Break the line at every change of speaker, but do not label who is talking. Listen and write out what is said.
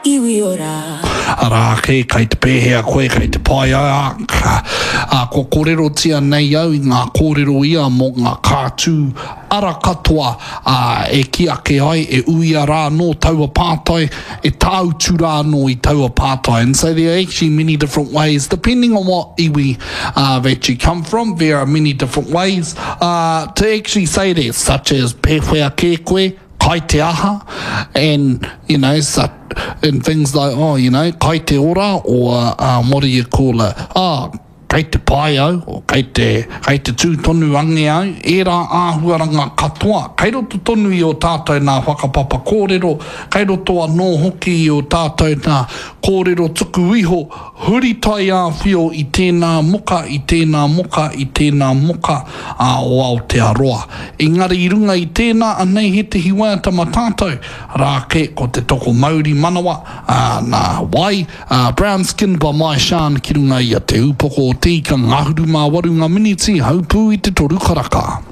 Iwi ora.
Arā ake, kei te pēhea koe, kei te pai ai, ā, ā, kua kōrerotia nei au i ngā kōrero ia mō ngā kātū ara katoa, ā, e kī ake ai, e uia rā anō taua pātai, e tāutu rā anō i taua pātai. And so there are actually many different ways, depending on what iwi uh, that you come from, there are many different ways uh, to actually say that, such as pēwhea kē koe, kai te aha, and, you know, such, and things like, oh, you know, kai te ora, or um, what do you call it, oh, kei te pai au, or kei te, kei te tū tonu ange au, ērā āhuaranga katoa, kei roto tonu i ō tātou nā whakapapa kōrero, kei roto anō hoki i ō tātou nā kōrero tuku iho, huri taiāwhio i tēnā moka, i tēnā moka, i tēnā moka ā, o Aotearoa. Engari i runga i tēnā, anei hētehi waiata ma tātou, rā kē ko Te Toko Mauri Manawa, ā, nā wai, ā, Brown Skin by Mai Shan ki runga i a Te Ūpoko o Te Ika ngahuru mā waru ngā miniti, haupū i te toru karaka.